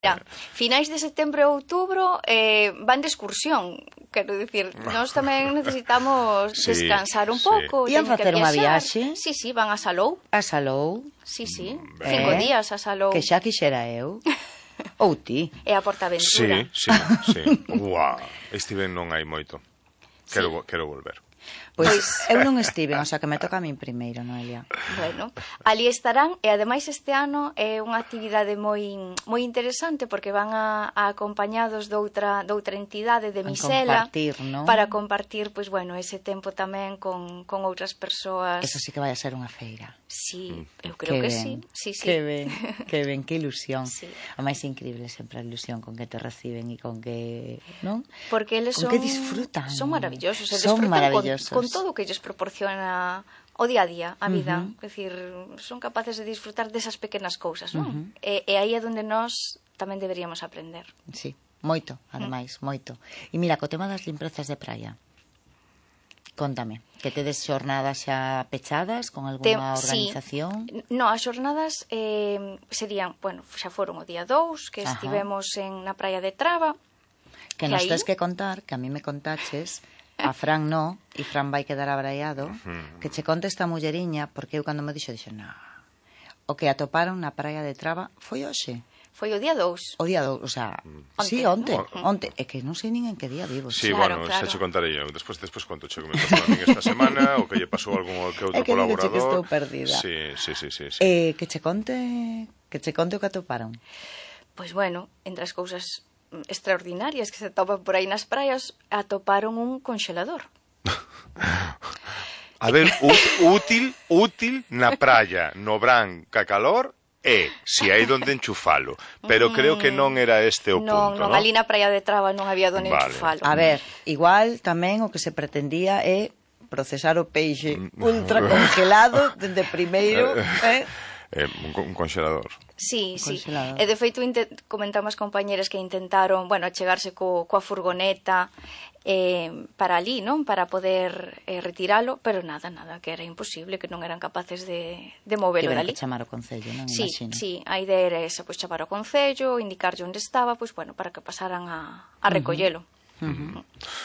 Mira, finais de setembro e outubro van de excursión. Quero dicir, nós tamén necesitamos descansar un pouco. Ian facer unha viaxe? Sí, van a Salou. A Salou? Sí. 5 días a Salou. Que xa quixera eu. Ou ti. E a Portaventura. Sí. Uau, estiven non hai moito. Quero volver. Pois eu non estiven, o sea que me toca a min primeiro, Noelia. Bueno, ali estarán e ademais este ano é unha actividade moi interesante porque van acompañados de outra entidade de Misela para compartir, pois bueno, ese tempo tamén con outras persoas. Eso sí que vai a ser unha feira. Sí, eu creo que sí. Que ben, que ilusión. A máis increíble sempre a ilusión con que te reciben e con que, non? Porque eles con que disfrutan. Son maravillosos, son maravillosos. Con todo o que lles proporciona o día a día, a vida. É dicir, son capaces de disfrutar desas pequenas cousas, non? E aí é onde nós tamén deberíamos aprender. Sí, moito, ademais, moito. E mira, co tema das limprezas de praia, contame, que tedes xornadas xa pechadas con algunha organización? Sí. No, as xornadas serían, bueno, xa foron o día 2, que estivemos na praia de Traba. Que nos tes que contar, que a mí me contaches, a Fran no, e Fran vai quedar abraiado, que che conte esta mulleriña, porque eu cando me dixo, o que atoparon na praia de Traba foi hoxe. Foi o día 2. O día 2, o sea, sí, onte. É que non sei nin en que día vivo. Sí, bueno, xa che contarei eu. Despois conto che que me pasou a min esta semana, o que lle pasou a algún que outro colaborador. É que estou perdida. Sí. Que che conte o que atoparon. Pois bueno, entre as cousas extraordinarias que se topan por aí nas praias, atoparon un congelador. A ver, útil na praia, no brán, ca calor, si hai donde enchufalo. Pero creo que non era este o punto, non? Ali na praia de Traba non había donde enchufalo. A ver, igual tamén o que se pretendía é procesar o peixe ultra congelado dende primeiro, un congelador. Sí. E de feito comentamos compañeras que intentaron, achegarse coa furgoneta para ali, non? Para poder retiralo, pero nada, que era imposible, que non eran capaces de movelo dali. Que chamar o Concello, non? Sí, a idea era esa, chamar o Concello, indicarlle onde estaba, para que pasaran a recollelo.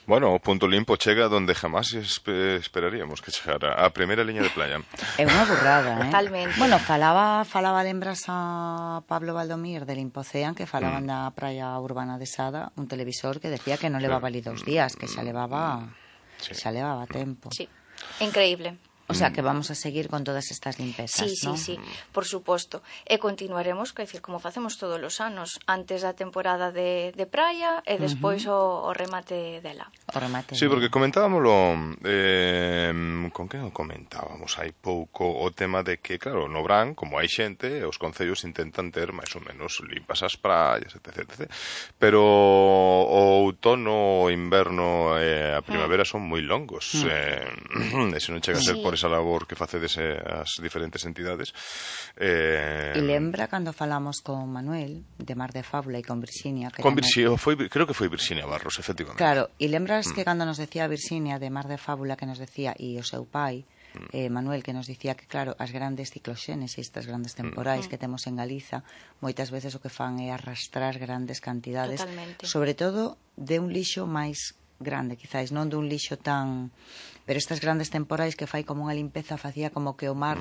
Bueno, o punto limpo chega donde jamás esperaríamos que chegara, a primeira liña de playa. É unha burrada, Totalmente. Bueno, falaba lembras a Pablo Valdomir de Limpocean, que falaban da praia urbana de Sada, un televisor que decía que non levaba ali 2 días, que xa levaba tempo. Sí, increíble. O sea, que vamos a seguir con todas estas limpezas, non? Sí, por suposto. E continuaremos, quer dicir, como facemos todos os anos, antes da temporada de praia e despois o remate dela. Sí, porque comentábamoslo, con quen o comentábamos hai pouco, o tema de que, claro, no Brán, como hai xente, os concellos intentan ter máis ou menos limpas as praias, etc. Pero o outono, o inverno e a primavera son moi longos. E se non chega a ser por esa labor que facedes as diferentes entidades. E lembra cando falamos con Manuel de Mar de Fábula e con Virxinia? Creo que foi Virxinia Barros, efectivamente. Claro, e lembras que cando nos decía Virxinia de Mar de Fábula, que nos decía, e o seu pai, Manuel, que nos dicía que, claro, as grandes cicloxenes e estas grandes temporais que temos en Galiza, moitas veces o que fan é arrastrar grandes cantidades, sobre todo de un lixo máis grande, quizáis, non dun lixo tan... Pero estas grandes temporais que fai como unha limpeza, facía como que o mar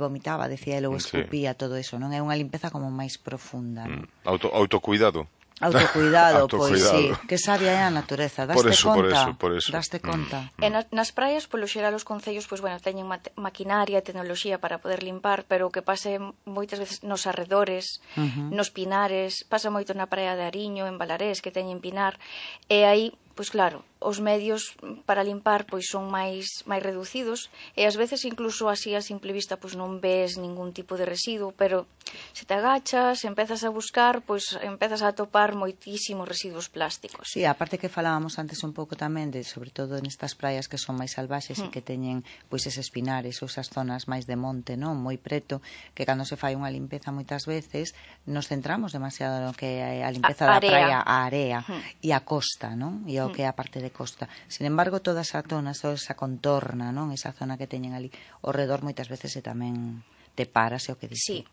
vomitaba, decía ele, ou escupía todo eso, non? É unha limpeza como máis profunda, non? Autocuidado. Autocuidado, pois sí. Que sabia é a natureza, daste conta? Por eso. Daste conta. E nas praias, polo xeral, os concellos, teñen maquinaria e tecnoloxía para poder limpar, pero o que pase moitas veces nos arredores, nos pinares, pasa moito na praia de Ariño, en Balarés, que teñen pinar, e aí, pois claro, os medios para limpar pois son máis reducidos e ás veces incluso así a simple vista pois non ves ningún tipo de residuo, pero se te agachas, empezas a buscar, pois empezas a atopar moitísimos residuos plásticos. Sí, aparte que falábamos antes un pouco tamén de, sobre todo nestas praias que son máis salvaxes e que teñen pois eses pinares ou esas zonas máis de monte, non, moi preto, que cando se fai unha limpeza moitas veces nos centramos demasiado no que é a limpeza da praia, a area e a costa, non? E o que é a parte de costa. Sin embargo, toda esa zona, toda esa contorna, non? Esa zona que teñen ali ao redor moitas veces tamén te paras, é o que dicen.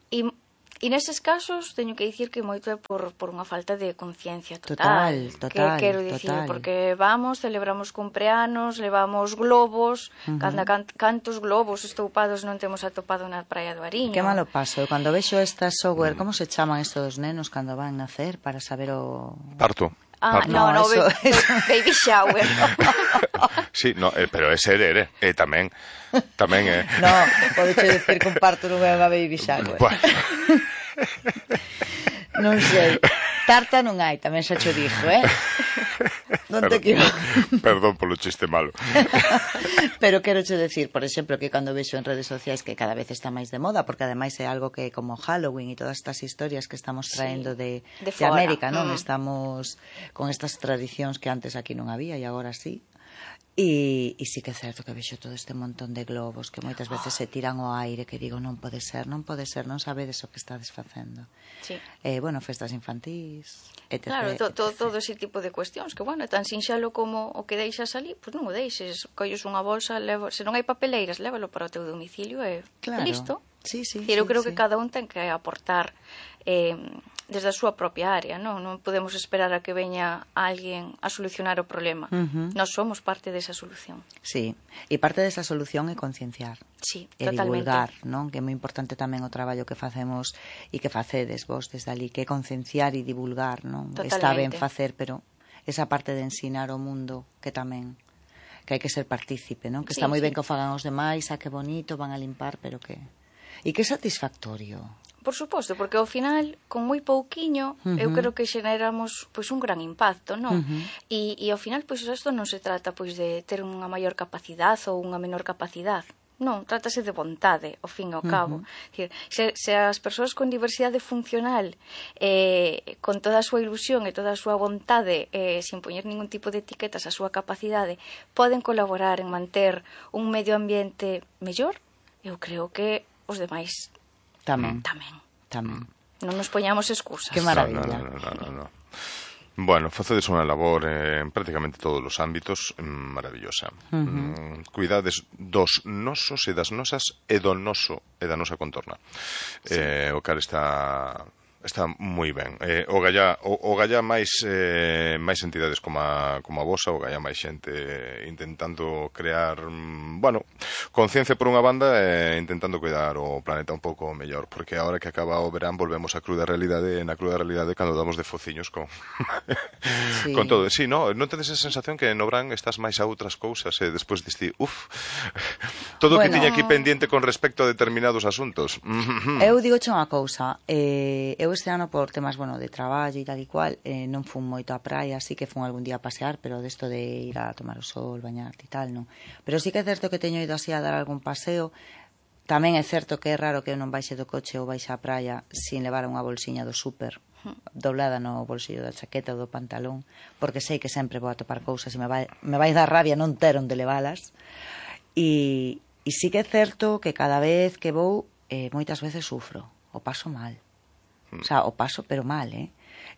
Sí. E E neses casos teño que dicir que moito é por unha falta de conciencia total. Total, que quero dicir, total. porque vamos, celebramos cumpleanos, levamos globos, cantos globos estoupados non temos atopado na praia do Ariño. Que malo paso. Cando vexo estas software, como se chaman estos dos nenos cando van nacer para saber o... Parto. No, baby shower. Sí, no, pero é ser, tamén é. No, podes decir que un parto non é unha baby shower. Bueno. Non sei. Tarta non hai, tamén xa cho dixo, Non te equivoques. Perdón polo chiste malo. Pero quero che decir, por exemplo, que cando vexo en redes sociais que cada vez está máis de moda, porque ademais é algo que como Halloween e todas estas historias que estamos traendo de América, non? Estamos con estas tradicións que antes aquí non había e agora sí. E sí que é certo que vexo todo este montón de globos que moitas veces se tiran ao aire, que digo, non pode ser, non sabedes o que estades facendo. Sí. Bueno, festas infantís, etc. Claro, todo ese tipo de cuestións, que, bueno, é tan sinxalo como o que deixas ali, pois non o deixes, colles unha bolsa, se non hai papeleiras, lévalo para o teu domicilio e listo. Sí, eu creo que cada un ten que aportar desde a súa propia área, non podemos esperar a que veña alguén a solucionar o problema. Nós somos parte desa solución. Sí, e parte desa solución é concienciar. Sí, e totalmente. Divulgar, non? Que é moi importante tamén o traballo que facemos e que facedes vos desde ali, que é concienciar e divulgar, non? Totalmente. Está ben facer, pero esa parte de ensinar o mundo que tamén que hai que ser partícipe, non? Que está moi ben que o fagan os demais, que bonito, van a limpar, pero que... E que satisfactorio. Por suposto, porque ao final, con moi pouquiño, eu creo que xeneramos pois un gran impacto, non? E ao final, pois isto non se trata pois de ter unha maior capacidade ou unha menor capacidade. Non, trátase de vontade, ao fin e ao cabo. Se as persoas con diversidade funcional, con toda a súa ilusión e toda a súa vontade, sin poñer ningún tipo de etiquetas a súa capacidade, poden colaborar en manter un medio ambiente mellor, eu creo que os demais tamén. Non nos poñamos excusas. Que maravilla. No. Bueno, facedes unha labor en prácticamente todos os ámbitos maravillosa. Cuidades dos nosos e das nosas e do noso e da nosa contorna. O cal está moi ben. O galla máis entidades como a vosa, o galla máis xente intentando crear, conciencia por unha banda e intentando cuidar o planeta un pouco mellor, porque agora que acaba o verán volvemos á cruda realidade, e na cruda realidade cando damos de fociños con con todo. Sí, non tedes esa sensación que no verán estás máis a outras cousas e despois diste, todo o que tiña aquí pendiente con respecto a determinados asuntos. Eu digo unha cousa, eu este ano por temas, de traballo e tal e cual, non fun moito á praia, así que fun algún día a pasear, pero desto de ir a tomar o sol, bañarte e tal, non. Pero sí que é certo que teño ido así a dar algún paseo. Tamén é certo que é raro que eu non baixe do coche ou baixe á praia sin levar unha bolsiña do súper doblada no bolsillo da chaqueta ou do pantalón, porque sei que sempre vou a topar cousas e me vai dar rabia non ter onde levalas. E sí que é certo que cada vez que vou, moitas veces sufro, o paso mal. O sea, o paso, pero mal,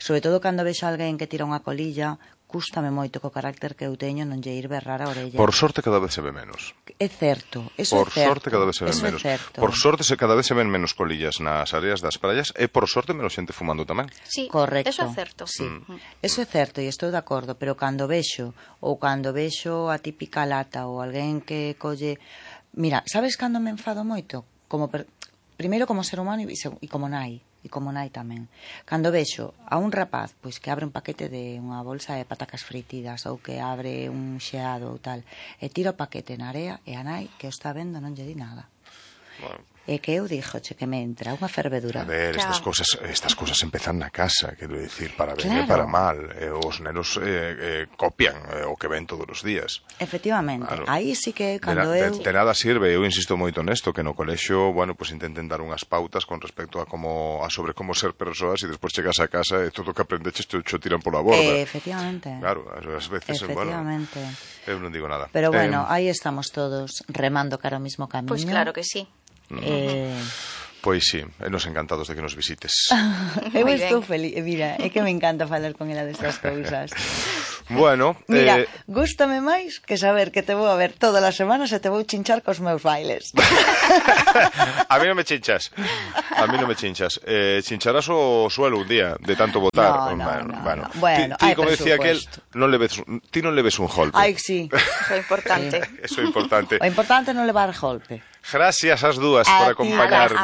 Sobre todo cando vexo alguén que tira unha colilla, cústame moito co carácter que eu teño non lle ir berrar a orella. Por sorte cada vez se ve menos. É certo, eso é certo. Por sorte cada vez se ven menos. Por sorte cada vez se ven menos colillas nas áreas das praias e por sorte menos xente fumando tamén. Sí, correcto. Eso é certo. Sí. Eso é certo e estou de acordo, pero cando vexo a típica lata ou alguén que colle... Mira, sabes cando me enfado moito? Primeiro como ser humano e como nai. E como nai tamén. Cando vexo a un rapaz pois que abre un paquete de unha bolsa de patacas fritidas ou que abre un xeado ou tal e tira o paquete na area e a nai que o está vendo non lle di nada. Bueno. E que eu dixo, que me entra unha fervedura. A ver, estas cousas empezan na casa, quero dicir, para ben e para mal. Os nenos copian o que ven todos os días. Efectivamente. Claro. Aí sí que cando de nada sirve, eu insisto moito nesto, que no colexio, pues intenten dar unhas pautas con respecto a sobre como ser persoas e despois chegas a casa e todo o que aprendeches te tiran pola borda. Efectivamente. Claro, ás veces, efectivamente. Eu non digo nada. Pero aí estamos todos remando cara ao mismo camiño. Pois claro que sí. Pois sí, nos encantados de que nos visites. Eu estou feliz, mira, é que me encanta falar con ela destas cousas. Bueno, Mira, gústame máis que saber que te vou a ver todas as semanas e te vou chinchar cos meus bailes. A mí non me chinchas. Chincharás o suelo un día de tanto votar. No. Bueno, ti como decía aquel, ti non le ves un golpe. Ai, sí. Eso é importante. Eso é importante. O importante é non levar golpe. Gracias ás dúas por acompañarme.